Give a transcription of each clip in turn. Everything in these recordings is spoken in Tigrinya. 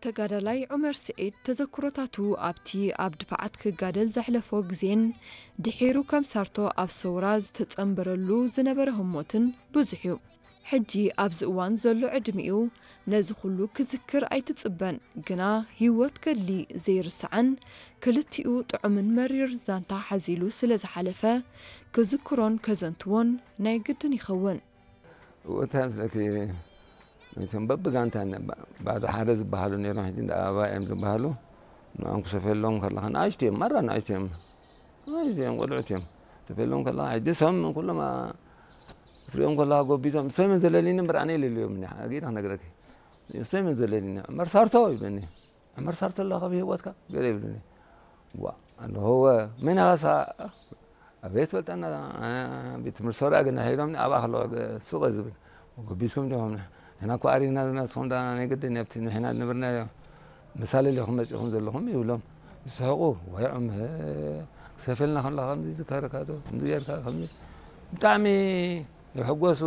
ተጋዳላይ ዑመር ስዒድ ተዘክሮታቱ ኣብቲ ኣብ ድፋዓት ክጋደል ዘሕለፎ ግዜን ድሒሩ ከም ሳርቶ ኣብ ሰውራ ዝተጸንበረሉ ዝነበረ ህሞትን ብዙሕ እዩ። ሕጂ ኣብዚ እዋን ዘሎ ዕድሚኡ ነዚ ኩሉ ክዝክር ኣይትጽበን፣ ግና ህይወት ገድሊ ዘይርስዓን ክልቲኡ ጥዑምን መሪር ዛንታ ሓዚሉ ስለ ዝሓለፈ ክዝክሮን ከዘንትዎን ናይ ግድን ይኸውን። እወታ ስለኪ ነቶም በብጋንታ ባዶ ሓደ ዝበሃሉ ነይሮም፣ ሕጂ እንዳ ኣበባ እዮም ዝበሃሉ። ንኦም ክሰፈሎም ከለኻ ንኣሽቱ እዮም፣ ማራ ንኣሽቱ እዮም፣ ንኣሽቱ እዮም፣ ቆልዑት እዮም። ክሰፈሎም ከለኻ ሕጂ ሰም ኩሎም ክትሪኦም ከለኻ ጎቢዞም፣ እሶም ዘለሊኒ እምበር ኣነ የለልዮም። ኣጊዳ ክነግረኪ፣ እሶም ዘለሊኒ። መርሳርቶ ይብለኒ። መርሳርቶ ኣለኻ ብህይወትካ ገለ ይብለኒ። ዋ ኣለኹ። መን ኢኻ? ኣበይ ትፈልጠና? ቤት ትምህርቲ ሰውራ ግን ሒዶም ኣብኣ ከለኹ ሱቕ ዝብል። ጎቢዝኩም ዲኹም? ንሕና እኮ ኣሪግና ዝና ንስኹም ዳ ናይ ግድን ኣብቲ ንሕና ዝነበርናዮ መሳለል ኢኹም መጺኹም ዘለኹም ይብሎም። ይስሕቑ። ወይ ዑመር ክሰፈልና ከለኻ ከምዚ ዝከረካ ዶ ከምዚ ጌርካ ከምዚ ብጣዕሚ ይሕጎሱ።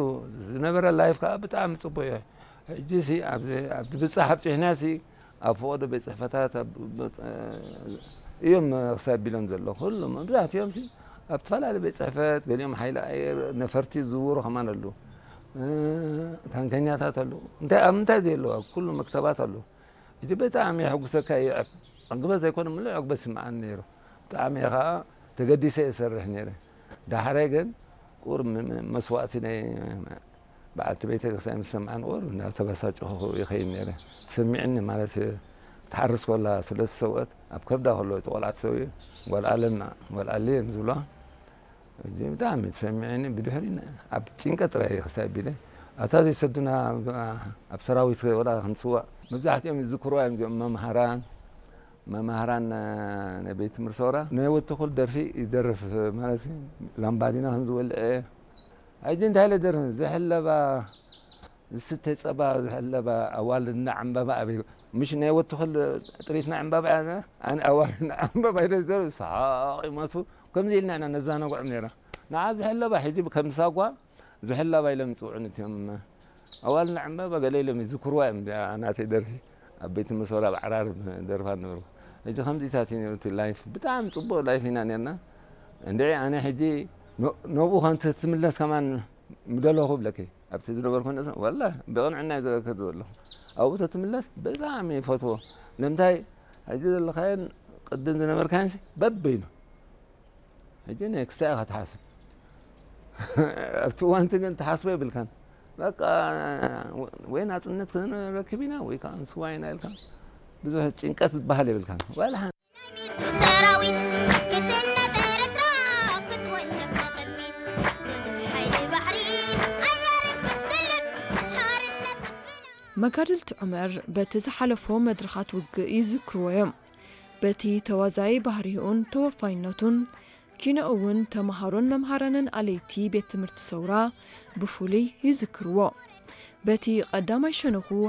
ዝነበረ ላይፍ ከዓ ብጣዕሚ ጽቡቕ እዩ። ሕጂ ሲ ኣብዚ ኣብዚ ብጻሕ ኣብጺሕና ሲ ኣብ ፈቐዶ ቤት ጽሕፈታት እዮም ክሳብ ቢሎም ዘሎ ኩሉ መብዛሕትኦም ሲ ኣብ ዝተፈላለዩ ቤት ጽሕፈት ገሊኦም ሓይሊ ኣየር ነፈርቲ ዝዝውሩ ከማን ኣሉ። ታንከኛታት ኣሉ። እንታይ ኣብ ምንታይ ዘየለዋ ኩሉ መክተባት ኣሉ። እቲ ብጣዕሚ የሕጉሰካ ይዕብ ዕግበት ዘይኮነ ምሉእ ዕግበት ስምዓኒ ነይሩ። ብጣዕሚ ከዓ ተገዲሰ እየ ሰርሕ ነይረ። ዳሕራይ ግን ቁር መስዋእቲ ናይ በዓልቲ ቤተ ክርስቲያን ምስ ሰምዓን ቁር እንዳተበሳጨኹ ይኸይድ ነይረ። ትስምዕኒ ማለት ትሓርስ ኮላ ስለ ተሰውአት ኣብ ከብዳ ከሎ እቲ ቆልዓ ተሰውዩ ጓል ኣለና ጓል ኣለ እዮም ዝብላ። እዚ ብጣዕሚ ተሰሚዑኒ ብድሕሪ ኣብ ጭንቀት ጥራይ ክሳብ ቢለ ኣታ ዘይሰዱና ኣብ ሰራዊት ወላ ክንስዋእ መብዛሕትኦም ይዝክርዋ እዮም እዚኦም መምሃራን መምሃራን ናይ ቤት ትምህርቲ ሰውራ ናይ ወትኹል ደርፊ ይደርፍ ማለት ላምባዲና ከም ዝወልዐ ሕጂ እንታይ ኢለ ደርፍ ዝሕለባ ዝስተ ጸባ ዝሕለባ ኣዋልድና ዕምባባ ኣበይ ምሽ ናይ ወትኹል ጥሪትና ዕምባባ ኣነ ኣዋልድና ዕምባባ ኢለ ዝደርፍ ሰሓቕ ይመቱ ከምዚ ኢልና ኢና ነዛናግዖም ነይራ። ንዓ ዝሕለባ ሕጂ ከም ሳጓ ዝሕለባ ኢሎም ይፅውዑኒ እቲኦም ኣዋልና ዕምባባ ገለ ኢሎም ይዝክርዋ እዮም። እዚኣ ናተይ ደርፊ ኣብ ቤት ትምህርቲ ወራብ ዓራርብ ደርፋ ነበርኩ። ሕጂ ከምዚታት እዩ ነይሩ እቲ ላይፍ። ብጣዕሚ ፅቡቅ ላይፍ ኢና ነርና። እንድዒ ኣነ ሕጂ ነብኡ ከም ትምለስ ከማን ምደለኹ ብለኪ ኣብቲ ዝነበርኩ ንእስ ወላ ብቕንዕና እዩ ዘዘክር ዘለኹ። ኣብኡ ተትምለስ ብጣዕሚ ይፈትዎ። ንምንታይ ሕጂ ዘለኻዮን ቅድም ዝነበርካዮን በበይኑ ሕጂ ናይ ክስታይ ኢኻ ትሓስብ ኣብቲ እዋንቲ ግን ትሓስቦ የብልካን በቃ ወይ ናፅነት ክንረክብ ኢና ወይ ከዓ ንስዋ ኢና ኢልካ ብዙሕ ጭንቀት ዝበሃል የብልካን ዋላ ሓንቲ። ሰራዊት ክትነጠ ኤርትራ ክትወንጨፍ ብቕድሚት ሓይሊ ባሕሪ ኣየርን ክትጥልፍ ሓርነት ህዝብና። መጋድልቲ ዑመር በቲ ዝሓለፎ መድረኻት ውግእ ይዝክርዎ እዮም። በቲ ተዋዛዪ ባህሪኡን ተወፋይነቱን ኪኖ እውን ተምሃሮን መምሃራንን ኣለይቲ ቤት ትምህርቲ ሰውራ ብፍሉይ ይዝክርዎ። በቲ ቀዳማይ ሸነኹ